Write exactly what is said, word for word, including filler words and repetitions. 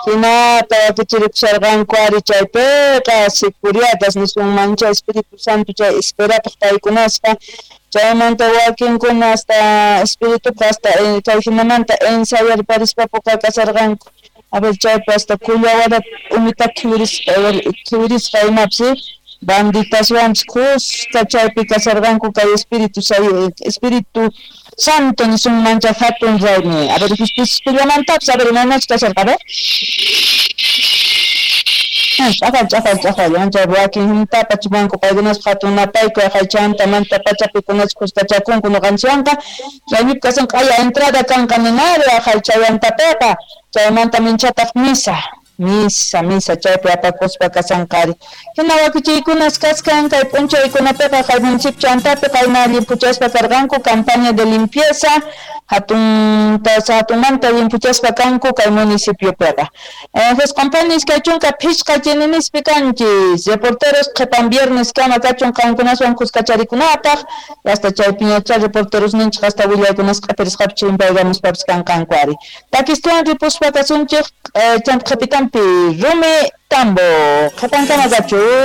Hinata wakichirikusharqanku ari chaypiqa securiatas nisunmancha Espíritu Santo chay esperapaq paykunaspa chaymanta wakinkuna hasta espirituqa hasta kay hinamanta ensayarparispapuqa kasharqanku. A ver chaypi hasta kullawara umita khiwirisqa khiwirisqa imapis banditaswanpis kuska chaypi kasharqanku kay Espíritu Espíritu Santo nisunmancha hatun raymi. A ver justicillamantapis a ver imaynachus kasharqa a ver. Ch'aqal ch'aqal ch'aqal anchay wakin huntapa chumanku paykunaspa hatun napayku chanta pachapikunachus kuskachakunku ñuqanchikwanqa raymipi kasanqa q'aya entrada kanqa ninari aqhay chaywantapiqa chaymanta minchataq misa misa misa chaypi apakuspa kasanqari hina wakichiykunas kaskan kay p'unchaykunapiqa kay municipio chantapi qayna llimpuchaspa karqanku campaña de limpieza hatunta hatunmanta limpuchaspa kanku kay municipiopiqa. Josqanpani iskay chunka phishqa chininispi kanchis reporteros qhipan viernes kama kachun qankunaswan kuskacharikunapaq hasta chaypiñachá reporteros ninchik hasta willaykunas q'ipirisqapi chimpaykamuspapis kanqanku ari. Takistuwan ripuspa kasunchik chanta qhipitanpi rumi tambo qhipankama kachun.